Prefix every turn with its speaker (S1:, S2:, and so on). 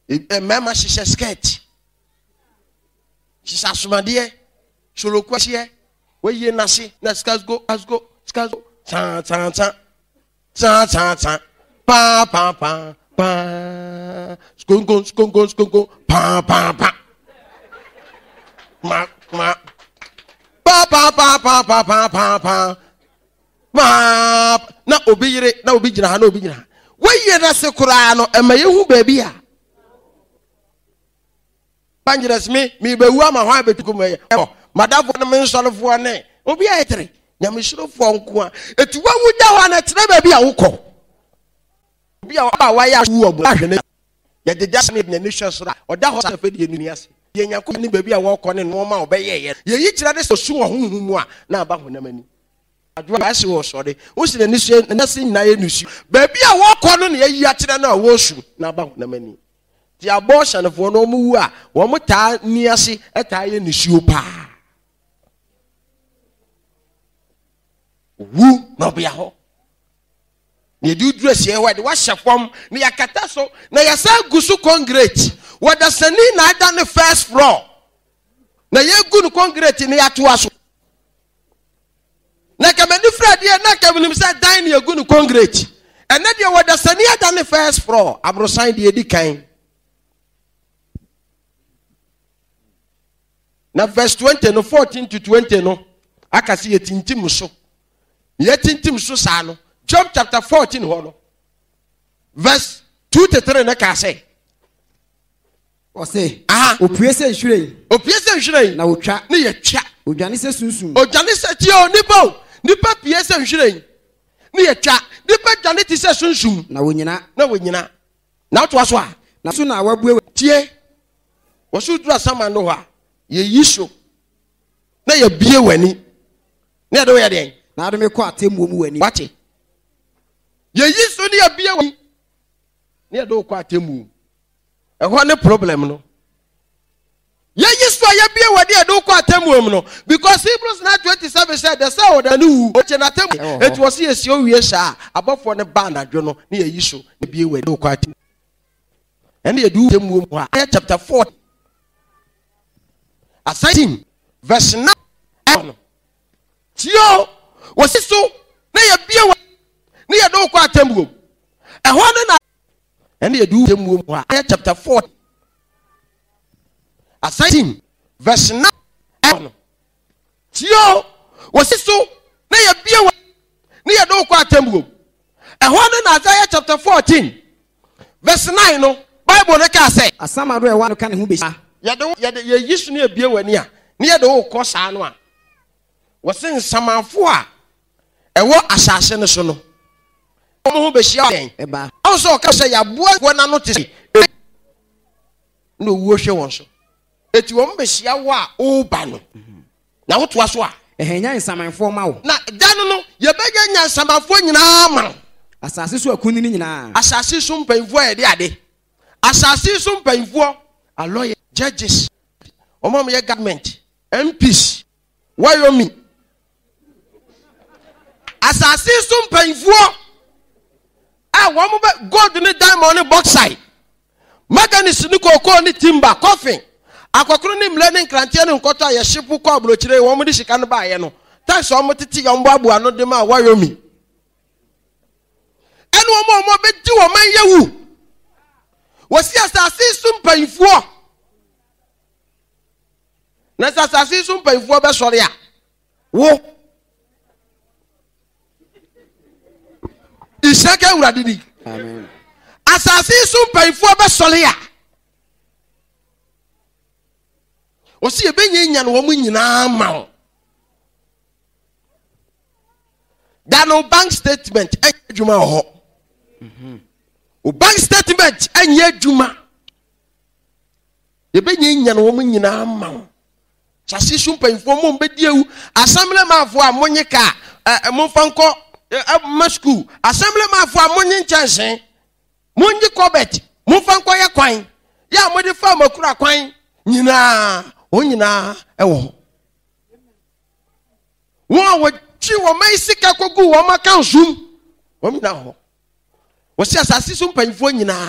S1: Mmarima hyehyɛ skirt, hyehyɛ asomadeɛ, soloku aseɛ, wɔyie n'ase na skasgo asgo skasgo tsaa tsaa tsaa tsaa tsaa tsaa paa paa paa paa skonko skonko skonko paa paa paa ma ma paa paa paa paa paa paa paa paa paa na obi yere na obi gyina ha na obi gyina ha wɔyie n'ase koraa no ɛma yɛhu baabi a evangelist me mebewu ama hɔ abɛtu mu ɛyɛ ɛwɔ madamfo no me nsɔrefoɔ ne obi ayɛ tere nyamesurofoɔ nko a ɛti wawu da hɔ a na kyerɛ baabi a wokɔ obi a ɔba wayɛ awu ɔbo ahwɛ ne yɛde da ne n'ani hwɛ soro a ɔda hɔ sɛ fɛ deɛ nni ase deɛ Nyankopɔn ne baabi a wɔkɔ ne nnoɔma a ɔbɛyɛɛyɛ yɛyi kyerɛ ne sɛ ɔsu wɔ honhom mu a na aba honam ani adwoa ase wɔ sɔre wosi n'ani so n'ase nyinaa yɛ nusu baabi a wɔkɔ no na yɛyi akyerɛ no a wɔsu na aba honam ani. Nti abortionfoɔ no wɔn wu a wɔn taa ni ase taa yɛ nisuo paa. Wu na ɔbea hɔ. Na yɛde woduru asie hɔ yɛde wahyɛ fam na yɛakata so na yɛsan gu so concrete. Wɔdasani na ada ne first floor na yɛgu no concrete na yɛatoa so. Na nka m'ani fira deɛ na nka menim sɛ dan ne egu no concrete. Ɛnɛ deɛ wɔda sani ada ne first floor aborosan deɛ edi kan. Na verse 20 no 14 to 20 no aka sɛ yɛtintim so. Yɛtintim so saa no Job chapter 14 hɔ no verse 2 to 3 no kaa sɛ
S2: Ɔse, Opue sɛ nhwiren.
S1: Opue sɛ nhwiren.
S2: Na otwa.
S1: Ne yɛtwa.
S2: Odwane sɛ sunsum.
S1: Odwane sɛ, tie o, nipa o, nipa pue sɛ nhwiren. Ne yɛtwa. Nipa dwane te sɛ sunsum.
S2: Na wonyina.
S1: Na wonyina. Na wotoa so a.
S2: Na so na wabue.
S1: Tie, wɔso duru asamando hɔ a, yɛyi so na yɛbue w'ani. Na yɛde wo yɛ deɛn?
S2: Na ade me kɔ atemmuo mu w'anim.
S1: Wate? Yɛyi so ne yɛbue w'ani na yɛde wo kɔ atemmuo mu. Ɛhɔ ne problem no. Yɛyi so a yɛbie wɔ de yɛde wokɔ atemmuo mu no because Hebrews 9:27 sɛ the sɛ ɔda ne wu ɔkyɛ n'atemmuo eti wɔ se yɛsi owie saa abɔfoɔ no ba anadwo no ne yɛyi so ne bie wɔ de wokɔ atemmuo ɛne yɛde wo atemmuo mu hɔ a chapter 4 asan verse 9 no tio wɔsi so na yɛbie wɔ ne yɛde wokɔ atemmuo mu ɛhɔ ne na Ɛne yɛde wo mu hɔ a chapter 4 asan verse 9 no tio wɔsi so na yɛbie wɔ ne yɛde wo kɔ atemmuo ɛhɔ no na Isaiah chapter 14 verse 9 no Bible no kaa sɛ
S2: asamado a ɛwɔ ano ka ne ho bɛhyia.
S1: Yɛde wo yɛde yɛyi so ne yɛbie w'ani a ne yɛde wo kɔ saa no a wɔse nsamanfo a ɛwɔ asase no so no, wɔn ho bɛhyia dɛn?
S2: Ɛba.
S1: Ɔn sɛ ɔka sɛ yɛaboa wɔn ano te sɛ e na owuo hwɛ wɔn so. Eti wɔn bɛhyia wo a woba no, na wotoa so a.
S2: Ɛhɛnyan nsamanfoɔ ma wo.
S1: Na da no no, yɛbɛnya nya nsamanfoɔ nyinaa ma wo.
S2: Asase so akunini nyinaa.
S1: Asase so mpanyinfoɔ a yɛde ade. Asase so mpanyinfoɔ, alɔyɛ, judges, wɔn a wɔyɛ government, MPs, Wyoming. Asase so mpanyinfoɔ a wɔn bɛ gold ne diamond ne bauxite, manganese ne cocoa ne timber, coffin, akɔkoro ne mmire ne nkranteɛ ne nkɔtɔ a yɛhyepo kɔ aburokyire wɔn de sika no baayɛ no tax a wɔn tete yɛn boaboa no de ma Wyoming. Ɛne wɔn a wɔn bɛgye wɔn man yɛ wu. Wɔsi asase so mpanyinfoɔ. Na sɛ asase so mpanyinfoɔ bɛsɔre a, wo nhyira ka Awurade ni. Asase so mpanyinfoɔ bɛsɔre a, wɔsi yɛbɛnya nya no wɔn nyinaa ma wo. Da no bank statement ɛnyɛ adwuma wɔ hɔ. Mhm. O bank statement ɛnyɛ adwuma. Yɛbɛnyanyan wɔn nyinaa ma wo. Asase so mpanyinfoɔ mo mbɛdi awu. Assembly manfoɔ a monye kaa ɛ momfa nkɔ ɛ ma sukuu. Assembly manfoɔ a monye nkyɛnse, monye kɔbɛt, momfa nkɔyɛ kwan. Yɛ a mode fa makura kwan nyinaa, wɔn nyinaa ɛwɔ hɔ. Wɔn a wɔgye wɔn man sika kɔgu wɔn akansom, wɔn nyinaa hɔ. Wɔsi asase so mpanyinfoɔ nyinaa.